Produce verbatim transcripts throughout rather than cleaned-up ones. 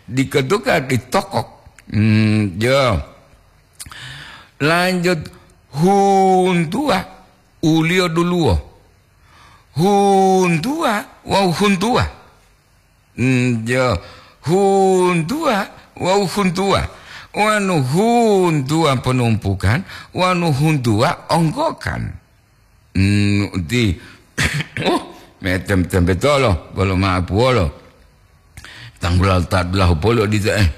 Dikotuka ditokok. Hmm, jo. Lanjut, huntuwa, uliyo duluwo. Huntuwa wawu huntuwa. Hmm, jo. Huntuwa wawu huntuwa. Wanu huntuwa ponumpukan, wanu huntuwa onggokan. Hmm, uti. Oh, metem-tempetolo, bolo ma'apuwolo. Tanggula ta dulahu poli odito, eh.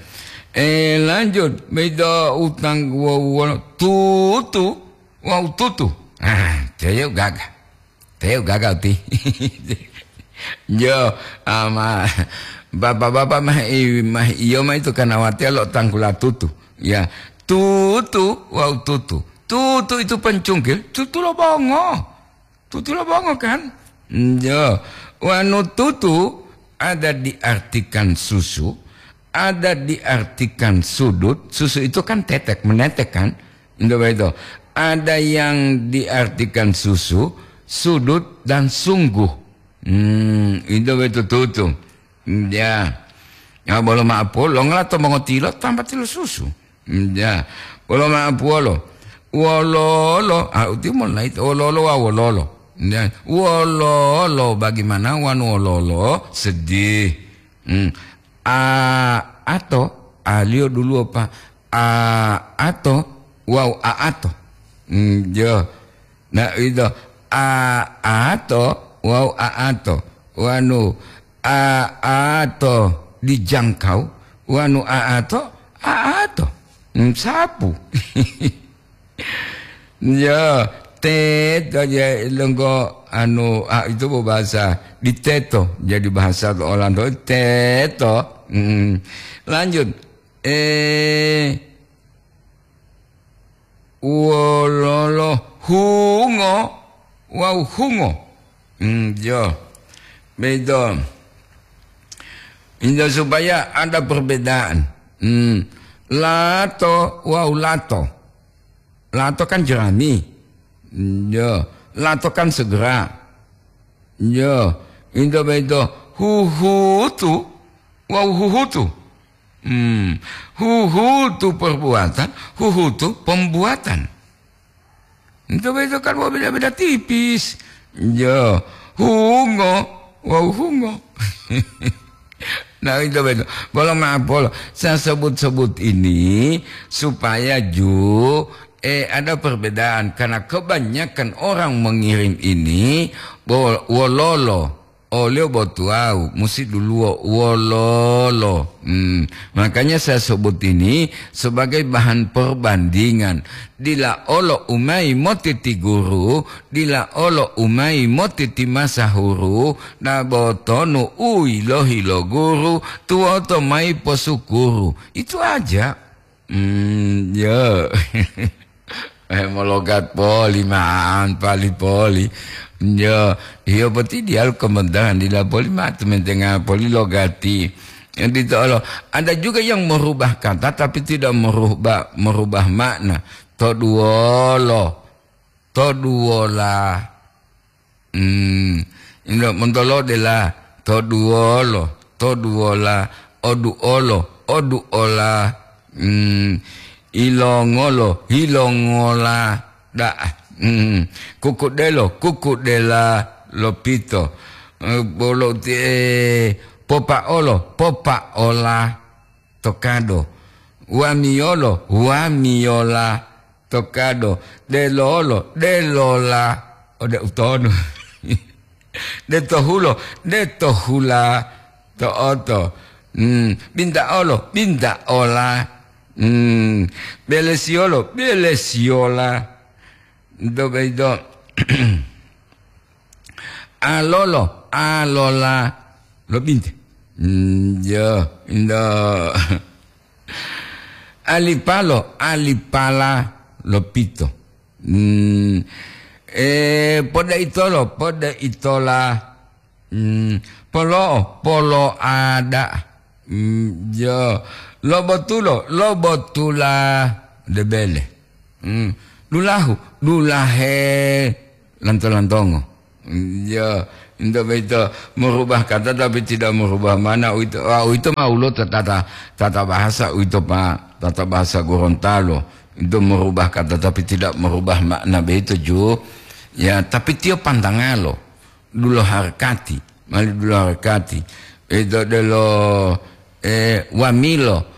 Eh, lanjut, bedo utang wo-, wo-, tutu, wawu tutu. Ah, teyo gaga. Teyo gaga uti. Jo, ama, bapak-bapak mah i-, mah iyo mah itu kanawatiya lo tanggula tutu. Ya, tutu wawu tutu. Tutu itu pencungkil, tutu lo bongo. Tutu lo bongo kan? Yo, wanu tutu ada diartikan susu, ada diartikan sudut. Susu itu kan tetek, menetek kan? Itu begitu. Ada yang diartikan susu, sudut, dan sungguh. Hmm, itu begitu tutu. Ya. Ya, bolo ma'apo, longola to mongotilo, tanpa tilo susu. Ya. Bolo ma'apuwolo. Wololo, ah, uti molai to, wololo wa wololo. Ya. Wololo, bagaimana wanu wololo? Sedih. Hmm. A, ato, aliyo duluwo pa. A, ato, wawu a ato. Hmm, yo. Nah, itu. A, ato, wawu a ato. Wanu, a, ato dijangkau, wanu a ato, a ato. Hmm, sapu. Ya, teto ya lenggo anu, a, itu bahasa di teto. Jadi bahasa Olando teto. Hmm. Lanjut. Eh, wololo hungo wawu hungo. Hmm, yo. Begitu. Itu supaya ada perbedaan. Hmm. Lato wawu lato. Lato kan jerami. Hmm, yo. Lato kan segera. Yo. Itu begitu. Huhutu wawu huhutu. Hmm. Huhutu perbuatan, huhutu pembuatan. Itu begitu kan mau beda-beda tipis. Yo, hungo, wow hungo. Nah, itu begitu. Bolo ma'apolo, saya sebut-sebut ini supaya ju, eh, ada perbedaan. Karena kebanyakan orang mengirim ini, bo-, wololo. Oliyo bo tuwawu musi duluwo wololo. Hmm, makanya saya sebut ini sebagai bahan perbandingan. Dila olo u mayi motiti guru, dila olo u mayi motiti masahuru, na botonu u yilohi lo guru, tuwoto mayi posukuru. Itu aja. Hmm, ya. Eh, mologat poli ma'an pali poli. Ya, iya boti diyalu kementangan dila poli ma tementenga poli logati. Yang dito olo, ada juga yang merubah kata tapi tidak merubah, merubah makna. Toduwolo, toduwola. Hmm, ino montolode la, toduwolo, toduwola, oduolo, oduola, hmm, ilongolo, ilongola, da'a, hmm, kukudelo, kukudela, lopito, eh, bolo ti, eh, popaolo, popaola, to kado. Wamiyolo, wamiyola, to kado. Delolo, delola, ode utonu. Detohulo, detohula, to oto. Hmm, bintaolo, bintaola. Hmm, belesiyolo, belesiyola. Do, do. Alolo, alola, lobinte. Hmm, yo, indo. Alipalo, alipala, lopito. Hmm, eh, podaitolo, podaitola. Hmm, polo'o, polo'ada. Hmm, yo, lobotulo, lobotula, debele. Hmm. Dulahu, dulahe, lanto-lantongo. Hmm, ya, Ento boyito merubah kata tapi tidak merubah makna, uwito, ah, uwito ma woluwo to tata, tata bahasa uwito, Pak, tata bahasa Gorontalo. Ento merubah kata tapi tidak merubah makna boyito, Ju. Ya, tapi tiyo pantangalo, dulo harakati, mali dulo harakati. Ito delo, eh, wamilo,